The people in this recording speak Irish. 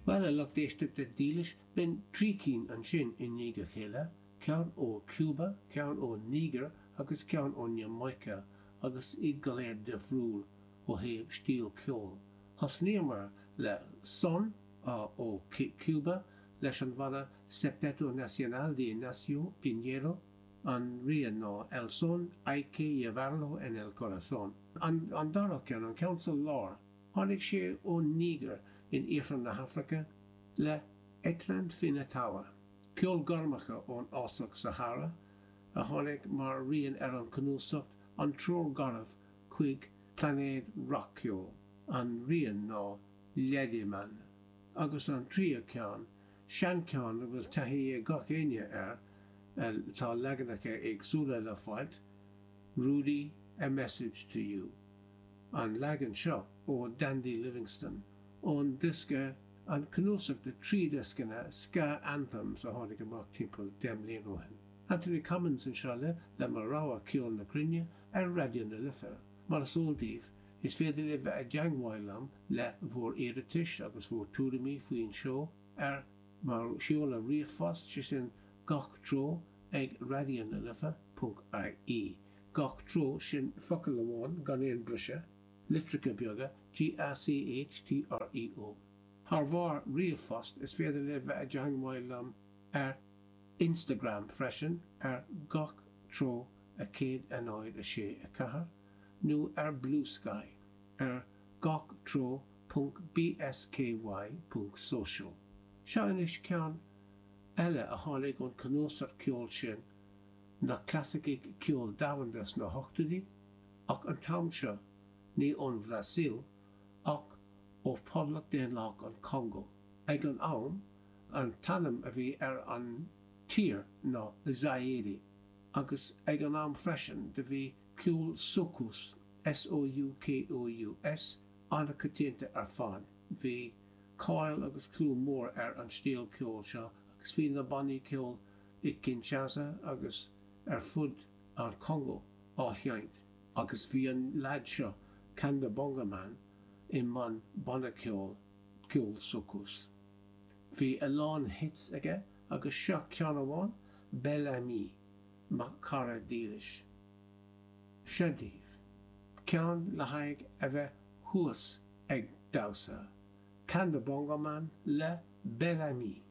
Bhuel, a lucht éisteachta dílis, b'in trí cinn ansin i ndiaidh a chéile, ceann ó Cuba, ceann ó Nígir agus ceann ón Iamáice, agus iad go léir difriúil ó thaobh stíl ceoil. Thosnaíomar le son ó Cuba leis an bhanna Septeto Nacional de Ignacio Piñeiro, an rian ná El Son Hay Que Llevarlo En El Corazón. An dara ceann, an ceann sa lár, Tháinig sé ón Nígir in iarthar na hAfraice le Etran Finatawa, ceol gormacha ón fhásach Sahara, a tháinig mar rian ar an chnuasach An Treoir Gharbh chuig Plainéad Rac-Cheoil. An rian ná Lediman. Agus an tríú ceann, seancheann a bhfuil taithí ag gach éinne air, tá leaganacha éagsúla le fáilt, Rudy, A Message to You. An leagan seo ó Dandy Livingstone, ón diosca, an cnuasach de thrí dhioscanna Ska Anthems a tháinig amach timpeall 10 mbliana ó shin. Anthony Cummins anseo libh le mo rogha ceol na cruinne ar Raidió na Life. Mar is eol daoibh, is féidir libh bheith i dteangmháil liom le bhur iarratais agus bhur tuairimí faoin seó ar mo sheoladh ríomhphost, sé sin gach treo ag raidionalife ponc ie. Gach treo, sin focal amháin gan aon briseadh, litreacha beaga, G-A-C-H-T-R-E-O. Thar bharr ríomhphost, is féidir libh bheith i dteangmháil liom ar Instagram freisin ar Gach Treo 1 0 6 4 nó ar Bluesky ar Gach Treo ponc BSKY ponc social. Seo anois ceann eile a tháinig ón cnuasach ceoil sin na clasaicigh ceoil domhanda sna hochtóidí, ach an t-am seo, ní ón Bhrasaíl, ach ó Phoblacht Daonlathach an Chongó. Ag an am, an t-ainm a bhí ar an tír ná Zaire, agus ag an am freisin, do bhí ceol soukous, S-O-U-K-O-U-S, an-choitianta ar fad. Bhí cáil agus clú mór ar an stíl ceoil seo, agus bhí na bannaí ceoil i Kinshasa agus ar fud an Chongó á sheinnt agus bhí an leaid seo, Kanda Bongo Man, i mbun banna ceoil, ceol soukous. Bhí a lán hits aige agus seo ceann amháin, Bel Ami, mo chara dílis. Seo daoibh ceann le haghaidh a bheith thuas ag damhsa, Kanda Bongo Man le Bel Ami.